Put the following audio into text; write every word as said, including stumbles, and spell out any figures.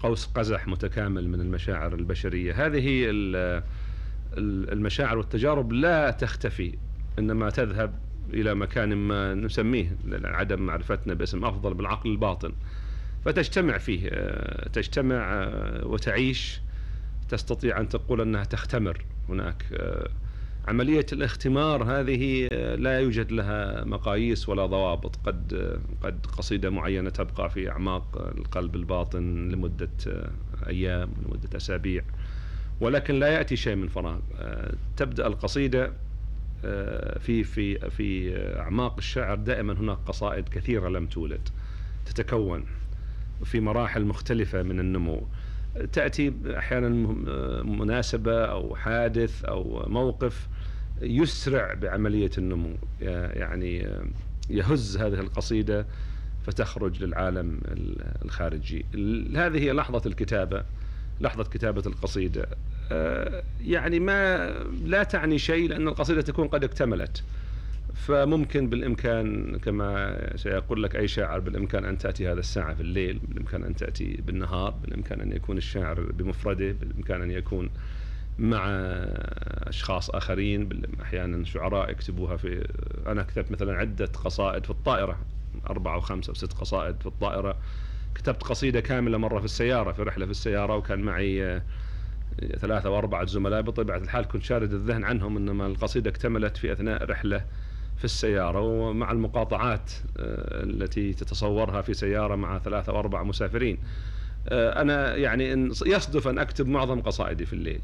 قوس قزح متكامل من المشاعر البشرية. هذه المشاعر والتجارب لا تختفي، إنما تذهب إلى مكان ما نسميه عدم معرفتنا باسم أفضل بالعقل الباطن، فتجتمع فيه، تجتمع وتعيش، تستطيع أن تقول أنها تختمر هناك. عملية الاختمار هذه لا يوجد لها مقاييس ولا ضوابط. قد قد قصيدة معينة تبقى في أعماق القلب الباطن لمدة أيام، لمدة أسابيع، ولكن لا يأتي شيء من فراغ. تبدأ القصيدة في في في أعماق الشعر دائما هناك قصائد كثيرة لم تولد، تتكون في مراحل مختلفة من النمو. تأتي أحيانا مناسبة أو حادث أو موقف يسرع بعملية النمو، يعني يهز هذه القصيدة فتخرج للعالم الخارجي. هذه هي لحظة الكتابة، لحظة كتابة القصيدة. يعني ما لا تعني شيء، لأن القصيدة تكون قد اكتملت، فممكن بالإمكان كما سيقول لك أي شاعر بالإمكان أن تأتي هذا الساعة في الليل، بالإمكان أن تأتي بالنهار، بالإمكان أن يكون الشاعر بمفرده، بالإمكان أن يكون مع أشخاص آخرين. أحيانا شعراء يكتبوها في، أنا كتبت مثلا عدة قصائد في الطائرة، أربعة وخمسة وست قصائد في الطائرة. كتبت قصيدة كاملة مرة في السيارة، في رحلة في السيارة، وكان معي ثلاثة وأربعة زملاء، بطبيعة الحال كنت شارد الذهن عنهم، إنما القصيدة اكتملت في أثناء رحلة في السيارة، ومع المقاطعات التي تتصورها في سيارة مع ثلاثة وأربعة مسافرين. أنا يعني إن يصدف أن أكتب معظم قصائدي في الليل.